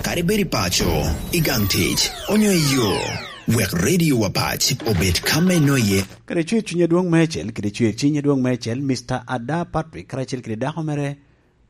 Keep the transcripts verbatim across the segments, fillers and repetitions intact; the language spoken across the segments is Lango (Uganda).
Kadi bed i paco, i gang tic, onyo i yo, wek Radio Wapac obed ka me noye. Kede cwer cwiny adwoŋ meicel, kede cwer cwiny adwoŋ meicel, Mister Ada Patrick karacel kede dako mere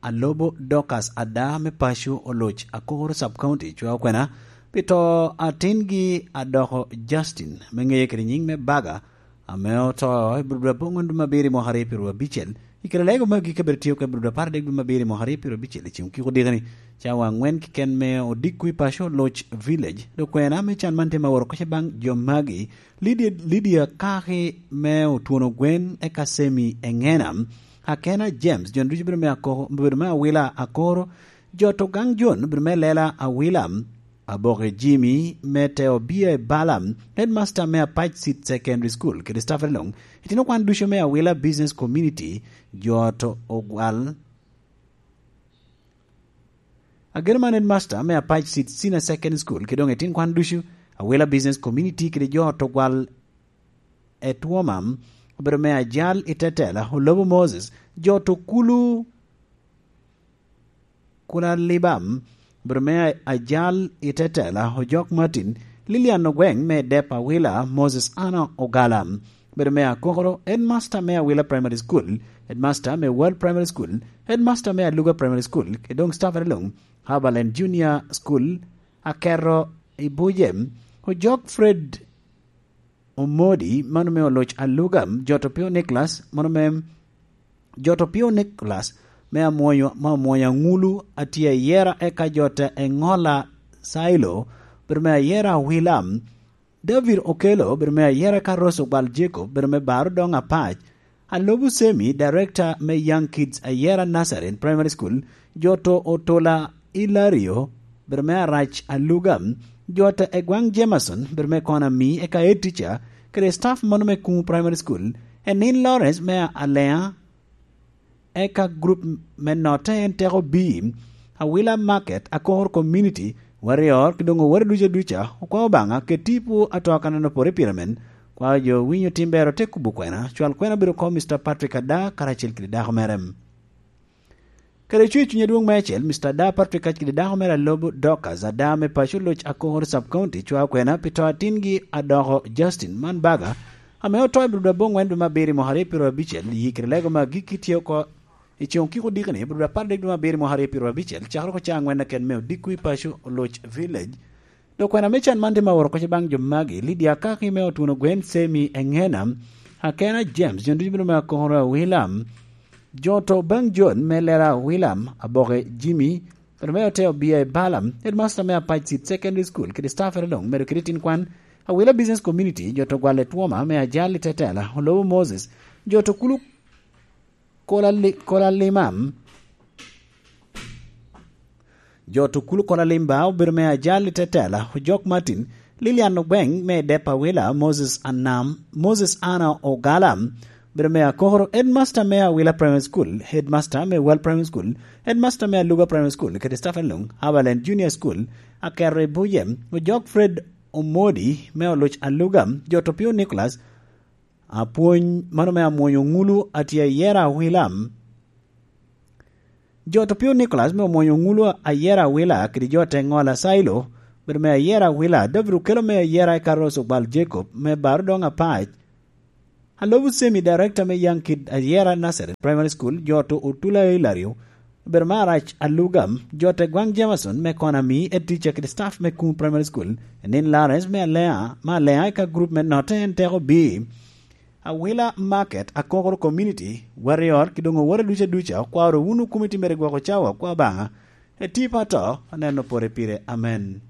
Alobo Dorcas Ada me paco Oloc Akoro Sub County cwao kwena pi to atingi adoko Justin me ŋeye kede nyiŋ me Baga, ame oto i Budo aboŋwen dwe me abiro i mwaka aryo pyeraryo abicel. I kare lego me agikki, bedo tye oko i Budo apar adek dwe me abiro i mwaka aryo pyeraryo abicel, i ceng okiko dikeni, cawa angwen keken me odiko i paco Oloc Village. Dok kwena me can man tye ma woro koca baŋ jo magi: Lydia, Lydia Kaki me Otwono Gwen, eka Semi Eŋena, Akena James, jo ducu bedo me Akoko, bedo me Awila Akoro, jo to gang Jon bedo me Lela Awila, Aboke Jimmy me Teo Bia i Bala, headmaster me Apac Seed Secondary School, kede staff along, itino kwan ducu me Awila Business Community, jo to ogwal. Ageno man headmaster me Apac Seed Senior Secondary School, kede doŋ itin kwan ducu, Awila Business Community, kede jo to gwal Etwoma, obedo me Ajal i Tetela, Olobo Moses, jo to kulu Kula Libam, obedo me Ajal i Tetela, Ojok Martin, Lilian Ogweng me Dep Awila, Moses Anna Ogala, obedo me Akokoro, headmaster me Awila Primary School, headmaster me World Primary School, headmaster me Aluga Primary School, kede doŋ staff along, Haberland Junior School, Akero i Buje, Ojok Fred Omodi, mano me Oloc Aluga, jo to Pio Nicholas, mano me, jo to Pio Nicholas, me Amwonyo, me Amwonyo Aŋulu, atye ayera, eka jo te Eŋola Sailo, bedo me ayera Awila, David Okello, bedo me ayera, eka Rose Ogwal Jacob, bedo me Baro Doŋ Apac, Alobu Semi, director me Young Kids Ayera Nazarene Primary School, jo to Otola Ilario, bedo me Arac Aluga, jo to Egwaŋ Jameson, bedo me Kona Mi, eka head teacher, kede staff mano me Kuŋ Primary School, Enin Lawrence me Alea, eka group me Notte en Teko B, Awila Market, Akor Community, Warrior, ki doŋ owore duca duca, okwao Obaŋa, kede tipo ato kan en opore pire men, kwao jo winyo tim ber ote kubo kwena, cwal kwena obedo oko Mister Patrick Ada, karacel kede dako mere. Kede cwer cuny adwoŋ meicel, Mister Ada Patrick kacel kede dako mere Alobo Dorcas Ada me paco Oloc Akor Sub County, cwao kwena pi to atingi adoko Justin man Baga, ame oto i Budo aboŋwen dwe me abiro i mwaka aryo pyeraryo abicel, i kare lego me agikki tye oko i ceng okiko dikeni, Budo apar adek dwe me abiro i mwaka aryo pyeraryo abicel, cakere oko caa aŋwen keken me odiko i paco Oloc Village. Dok kwena me can man tye ma woro koca baŋ jo magi: Lydia Akaki me Otwono Gwen, Semi Eŋena, Akena James, jo ducu bino me Akoro Awila, jo to baŋ Jon me Lera Awila, Aboke Jimmy, bedo me Ote Obia i Bala, headmaster me Apac Seed Secondary School, kede staff ere doŋ, medo kede tin kwan, Awila Business Community, jo to Gwal Etwoma me Ajal i Tetela, Olobo Moses, jo to kulu Kola Li-, Kola Limam, jo to kulu Kola Limba, obedo me Ajal i Tetela, Ojok Martin, Lilian Ogweng me Dep Awila, Moses Anam, Moses Anna Ogala, obedo me Akoro, headmaster me Awila Primary School, headmaster me World Primary School, headmaster me Aluga Primary School, kede staff along, Haberland Junior School, Akero i Buje, Ojok Fred Omodi me Oloc Aluga, jo to Pio Nicholas, apwony mano me Amwonyo Ŋulu atye ayera Awila. Jo to Pio Nicholas me Omwonyo Ŋulu ayera Awila, kede jo te Ŋola Sailo, bedo me ayera Awila, David Okello me ayera, eka Rose Ogbal Jacob me Baro Doŋ Apac, Alobu Semi, director me Young Kid Ayera Nazareth Primary School, jo to Otula Ilario, obedo me Arac Aluga, jo te Gwaŋ Jameson me Kona Mi, head teacher kede staff me Kuŋ Primary School, Enin Lawrence me Alea, me Alea, eka group me Notte en Teko B, Awila Market, Akokoro Community, Warrior, ki doŋ oworo duca duca, okwaro wunu komiti mere gwoko cawa, kwa Obaŋa, eti pa to, aneno pore pire. Amen.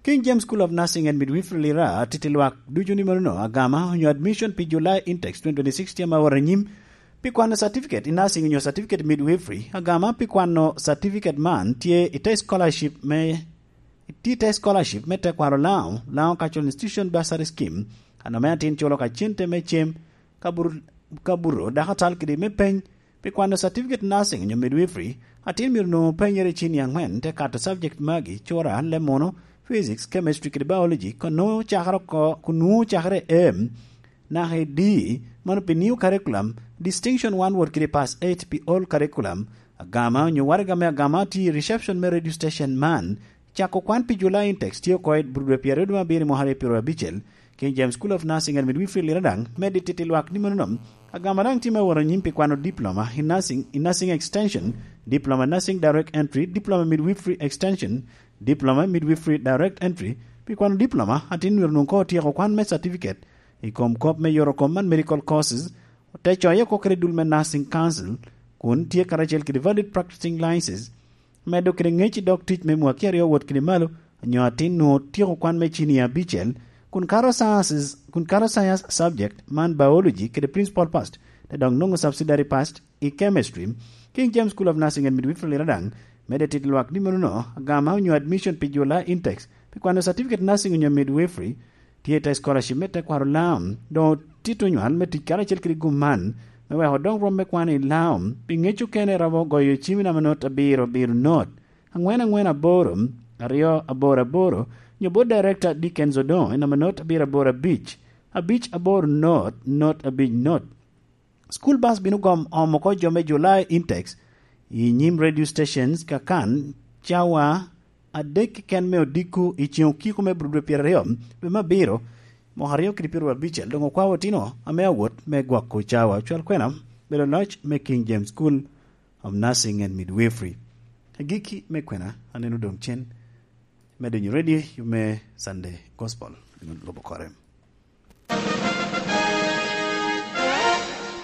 King James School of Nursing and Midwifery Lira atiti lwak ducu ni manono, agama onyo admission pi July intakes twenty twenty-six tye ma wot anyim. Pi kwano certificate i nursing onyo certificate midwifery, agama pi kwano certificate man tye i te scholarship me, tye i te scholarship me tekwaro Laŋo, Laŋo Cultural Institution Bursary Scheme, ano me atin culo ka cente me cem, ka bur-, ka buto, dako atal kede me peny. Pi kwano certificate nursing onyo midwifery, atin myero onwoŋo penyere i cini aŋwen, te kato subject magi, cura, leb munu, physics, chemistry kede biology, kono cakere oko, kun nwoŋo cakere em, naka i D, mano pi new curriculum, distinction one wot kede pass eight pi old curriculum, Agama onyo waraga me agama tye i reception me radio station man. Cako kwan pi July intakes tye oko i Budwe pyeraryo dwe me abiro i mwaka aryo pyeraryo abicel. King James School of Nursing and Midwifery Liradaŋ medde titi lwak ni menono. Agama daŋ tye me woro nyim pi kwano diploma i nursing, i nursing extension, diploma nursing direct entry, diploma midwifery extension, diploma midwifery direct entry. Pi kwano diploma, atin myero nwoŋ ko otyeko kwan me certificate i kom kop me yoro kom man medical courses, te coye oko kede dul me Nursing Council, kun tye karacel kede valid practicing license, medo kede ŋec i dog tic me mwaki aryo wot kede malo, onyo atin nwoŋo tyeko kwan me cinia abicel, kun kato sciences, kun kato science subject man biology kede principal past, te dok nwoŋo subsidiary past i chemistry. King James School of Nursing and Midwifery Liradaŋ medde tit lwak ni menono agama onyo admission pi July intakes pi kwano certificate nursing onyo midwifery, tye i te scholarship me tekwaro Laam, doŋ otito nywal me tic karacel kede gum man, me weko doŋ rwom me kwano i Laam, pi ŋec okene romo goyo cim i namba not abiro abiro not, aŋwen aŋwen aboro, aryo aboro aboro, nyo bot Director Dickens Odongo i namba not abiro aboro abic, abic aboro not, not abic not. School bus bino gom omo oko jo me July intakes i nyim radio stations kakan cawa adek keken me odiko i ceŋ okiko me Budwe pyeraryo dwe me abiro, mwaka aryo kede pyeraryo abicel. Doŋ okwao otino ame awot me gwoko cawa ocwal kwena bedo loc me King James School of Nursing and Midwifery. Agikki me kwena aneno doŋ cen me donyo ready me Sunday Gospel. Lubo kore.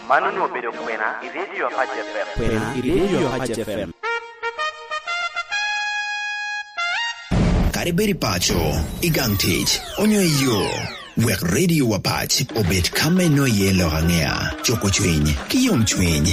Man onwoŋo obedo kwena i Radio Apac F M. Kwena i Radio Apac F M. Kadi bed i paco, i gang tic, onyo i yo, wek Radio Apac obed ka me nwoŋo iye lok aŋea, cuko cwiny, ki yom cwiny.